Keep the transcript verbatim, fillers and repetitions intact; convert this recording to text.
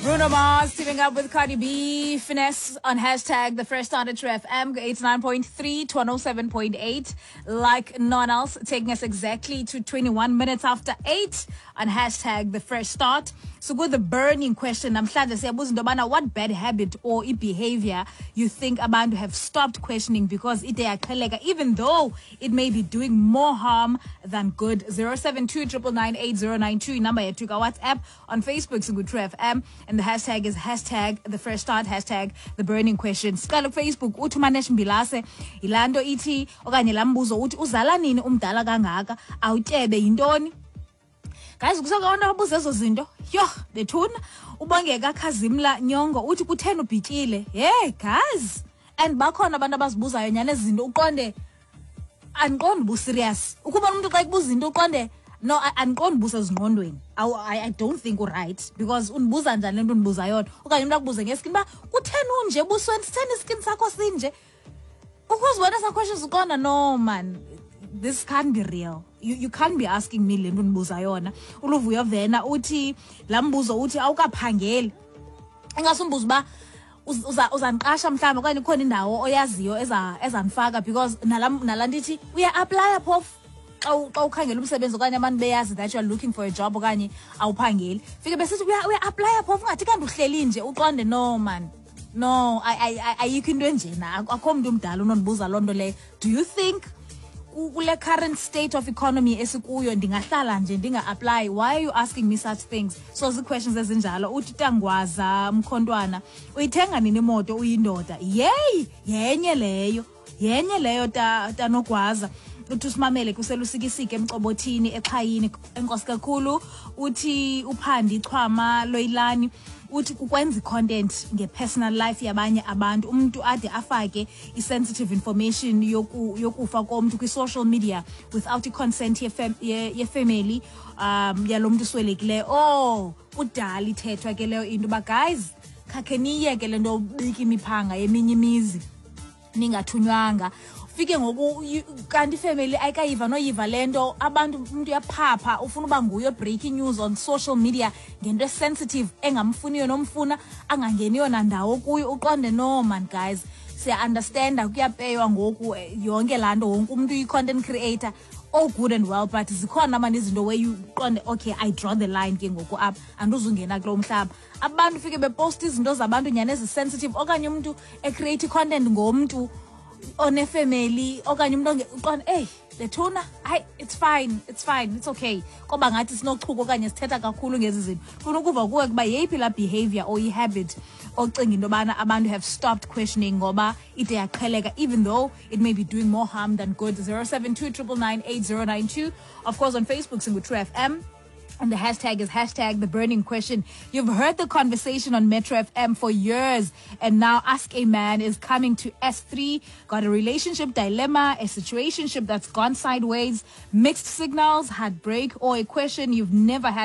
Bruno Mars teaming up with Cardi B. Finesse on hashtag the fresh start at True F M eighty-nine point three to one oh seven point eight. Like none else, taking us exactly to twenty-one minutes after eight on hashtag the fresh start. So with the burning question, namhlanje siyabuza into yobana what bad habit or behavior you think abantu have stopped questioning because ide yaqheleka, even though it may be doing more harm than good. zero seven two triple nine eight zero nine two, number yethu ka WhatsApp. On Facebook, singu True F M, and the hashtag is hashtag the fresh start, hashtag the burning question. Siqala ku Facebook, uthi uManesh Mbilase, yilaa nto ithi okanye laa mbuzo uthi uzala nini umdala kangaka, awutyebe yintoni? Guys, kusekho abantu ababuza ezo zinto. Yho, bethuna. Ubongeka Khazimla Nyongo uthi kutheni ubhityile? Hey guys, and bakhona abantu abazibuzayo nyani ezi zinto, uqonde andiqondi uba userious. Ukubona umntu xa ekubuza into uqonde no, andiqondi uba usezingqondweni. I, I don't think uright because undibuza njani le nto undibuza yona? Okanye umntu akubuze ngeskin uba kutheni unje ebusweni, sitheni iskin sakho sinje? Ukuzibona esa questions uqonda no man, this can't be real. You, you can't be asking me le nto undibuza yona. Uluvuyo Vena uthi laa mbuzo uthi awukaphangeli. Ingasumbuzo uba uzandiqasha mhlawumbi okanye ikhona indawo oyaziyo ezandifaka because nala nala nto ithi uya-aplaya phofu xa xa ukhangela umsebenzi okanye abantu beyazi that you are looking for a job okanye awuphangeli. Fike besithi uya-aplaya phofu ungathi kanti uhleli nje uqonde no man. No, ayikho into enjena. Akho mntu umdala unondibuza loo nto leyo. Do you think kule current state of economy esikuyo ndingahlala nje ndinga-apply? Why are you asking me such things? So zii-questions ezinjalo. Uthi Tangwaza Mkhontwana, uyithenga nini imoto uyindoda? Yeyi, yenye leyo. Yenye leyo Tanogwaza. Uthi usimamele kuselusikisike emcobothini exhayini. Enkosi kakhulu. Uthi uPhandi Chwama Loyilani uthi kukwenza i-content nge-personal life yabanye abantu, umuntu ade afake i-sensitive information yoku, yokufa komntu kwi-social media without i-consent ye-family um yalo mntu uswelekileyo. Oh, kudala ithethwa ke leyo into uba guys, khakhe niyeke le nto ubika imiphanga yeminye imizi ningathunywanga. Fike ngoku kanti ifamily ayikayiva noyiva le nto, abantu umuntu uyaphapha ufuna uba nguye breaking news on social media ngento esensitive engamfuniyo nomfuna angangeniyo nandawo kuyo. Uqonde no man guys, siya-understanda kuyapeywa ngoku yonke laa nto, wonke umntu uyi-content creator, all good and well, but zikhona mani izinto where you uqonde okay, I draw the line ke ngoku apha, andizungena kulo mhlaba. Abantu fike beposta izinto zabantu nyani ezisensitive okanye umntu ecreate i-content ngomntu onefamily okanye umuntu uqonde hey lethuna, hayi it's fine, it's fine, it's okay. Koba ngathi sinochuko okanye sithetha kakhulu ngezi zinto. Funa ukuva kuwe kuba yeyiphi laa behavior or i-habit ocinga into yobana abantu have stopped questioning ngoba ide yaqheleka, even though it may be doing more harm than good. zero seven two triple nine eight zero nine two. Of course on Facebook singu True F M. And the hashtag is hashtag the burning question. You've heard the conversation on Metro F M for years, and now Ask a Man is coming to S three. Got a relationship dilemma, a situationship that's gone sideways, mixed signals, heartbreak, or a question you've never had